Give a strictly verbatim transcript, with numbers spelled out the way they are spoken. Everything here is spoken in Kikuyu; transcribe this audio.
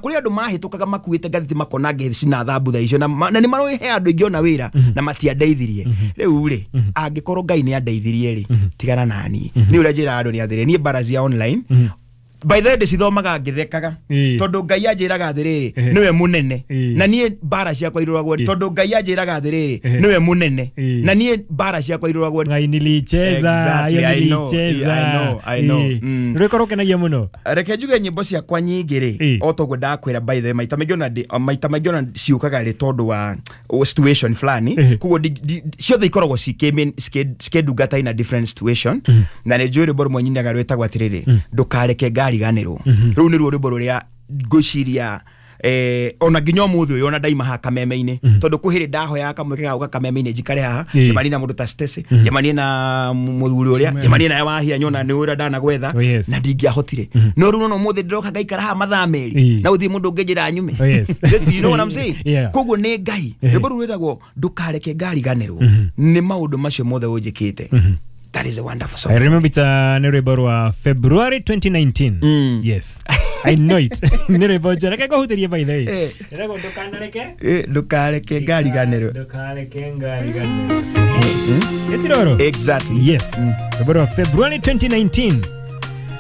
Kũrĩ andũ mahĩtũkaga makuĩte ngathĩti makona ngĩcina thambutha icio, na ma- na nĩ maroĩ he andũ ingĩona wĩra na matiandeithirie. Rĩu rĩ, angĩkorwo Ngai nĩ andeithirie rĩ, tigana naniĩ. Nĩ ũrĩa njĩraga andũ nĩ atĩrĩ, niĩ mbara cia online, by the way, ndĩcithomaga ngĩthekaga, Ĩĩ. tondũ Ngai anjĩraga atĩrĩrĩ, Ehe. nĩwe mũnene. Ĩĩ. Na niĩ mbara ciakwa irũragwo, tondũ Ngai anjĩraga atĩrĩrĩ, Ehe. nĩwe mũnene. Ĩĩ. Na niĩ mbara ciakwa irũragwo. Ngai nilicheza. Exactly, hiyo I know, nilicheza. I know, I know. Ĩĩ. Mm. Rwĩko rũkenagia mũno. Reke njuge nyĩmbo ciakwa nyingĩ rĩ, Ĩĩ. o toguo ndakwĩra, by the way, maita maingĩ ona ndĩ- maita maingĩ ona ciũkaga rĩ tondũ wa wa situation fulani. Ĩĩ. Koguo ndi- ndi- ciothe ikoragwo cikĩ- cikĩ- cikĩndungata in a different situation. Na nĩ njũĩ rwĩmbo rũmwe nyinaga rwĩtagwo atĩrĩrĩ, "Ndũkareke ngariganĩrwo". Rũu nĩruo rwĩmbo rũrĩa ngwĩciria eh, ona nginya ũmũthĩ ũyũ ona ndaima haha kameme-inĩ, tondũ kwĩ hĩndĩ ndahoyaga kamweke ga gũka kameme-inĩ njikare haha, Ĩĩ. njemanie na mũndũ ta Stacy, njemanie na mũthuri ũrĩa, njemanie nawe wahia nyona nĩ ũrĩa ndanagwetha. Oh, yes. Na ndingĩahotire, no rĩu nona ũmũthĩ ndĩroka ngaikara haha mathaa merĩ Ĩĩ. na gũtirĩ mũndũ ũngĩnjĩra nyume. Oh, yes. You know what I'm saying? Yeah. Koguo nĩ Ngai. Rwĩmbo rũu rwĩtagwo "Ndũkareke ngariganĩrwo" nĩ maũndũ macio mothe ũnjĩkĩte. That is a wonderful song. I remember it, uh, nĩ rwĩmbo rwa February twenty nineteen. Mm. Yes, I know it. Nĩ rwĩmbo njega. Reke ngũhutĩrie, by the way. Eh. Rĩragwo "Ndũkanareke". Eh, "Ndũkareke ngariganĩrwo". "Ndũkareke ngariganĩrwo". Ĩtiroro. Exactly. Yes, rwĩmbo rwa February twenty nineteen.